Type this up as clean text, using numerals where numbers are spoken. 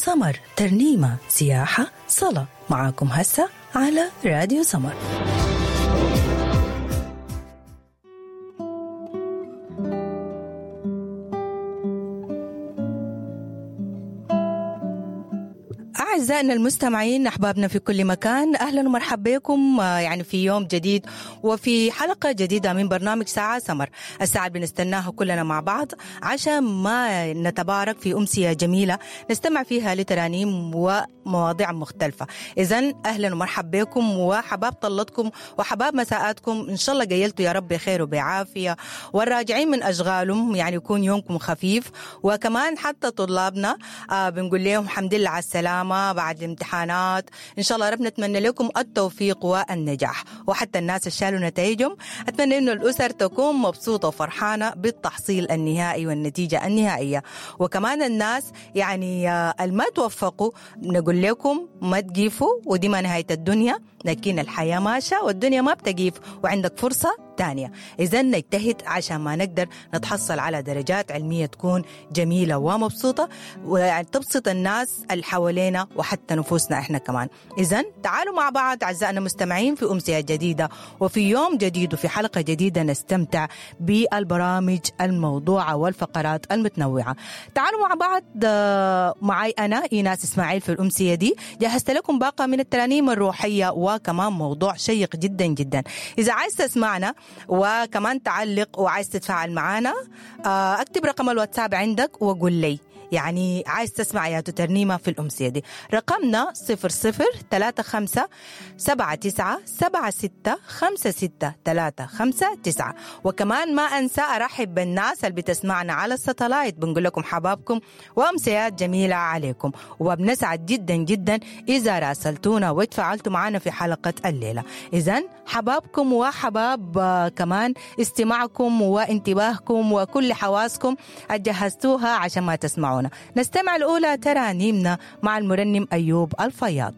سمر، ترنيمة، سياحة، صلاة. معاكم هسه على راديو سمر. أعزائنا المستمعين، أحبابنا في كل مكان، أهلا ومرحبا بكم يعني في يوم جديد وفي حلقة جديدة من برنامج ساعة سمر، الساعة اللي بنستناها كلنا مع بعض عشان ما نتبارك في أمسية جميلة نستمع فيها لترانيم ومواضيع مختلفة. إذا أهلا ومرحبا بكم وحباب طلتكم وحباب مساءاتكم، إن شاء الله قيلتوا يا رب بخير وبعافية، والراجعين من أشغالهم يعني يكون يومكم خفيف. وكمان حتى طلابنا بنقول لهم الحمد لله على السلامة بعد الامتحانات، إن شاء الله ربنا نتمنى لكم التوفيق والنجاح. وحتى الناس اللي شالوا نتائجهم أتمنى إنه الأسر تكون مبسوطة وفرحانة بالتحصيل النهائي والنتيجة النهائية. وكمان الناس يعني الما توفقوا نقول لكم ما تقيفوا، ودي ما نهاية الدنيا، لكن الحياة ماشية والدنيا ما بتقيف وعندك فرصة تانية. إذا نجتهد عشان ما نقدر نتحصل على درجات علمية تكون جميلة ومبسوطة وتبسط الناس اللي حوالينا وحتى نفوسنا إحنا كمان. إذا تعالوا مع بعض أعزائنا المستمعين في أمسية جديدة وفي يوم جديد وفي حلقة جديدة نستمتع بالبرامج الموضوعة والفقرات المتنوعة. تعالوا مع بعض، معي أنا إيناس إسماعيل في الأمسية دي جهزت لكم باقة من الترانيم الروحية وكمان موضوع شيق جدا جدا. إذا عايز تسمعنا وكمان تعلق وعايز تتفاعل معانا، اكتب رقم الواتساب عندك وقول لي يعني عايز تسمع يا ترنيمة في الأمسية دي. رقمنا 00 35 79 76 56 359. وكمان ما أنسى أرحب بالناس اللي بتسمعنا على الستلايت، بنقول لكم حبابكم وأمسيات جميلة عليكم، وبنسعد جدا جدا إذا راسلتونا وتفاعلتوا معنا في حلقة الليلة. إذن حبابكم وحباب كمان استماعكم وانتباهكم وكل حواسكم أجهزتوها عشان ما تسمعونا. نستمع الأولى ترانيمنا مع المرنم أيوب الفياض.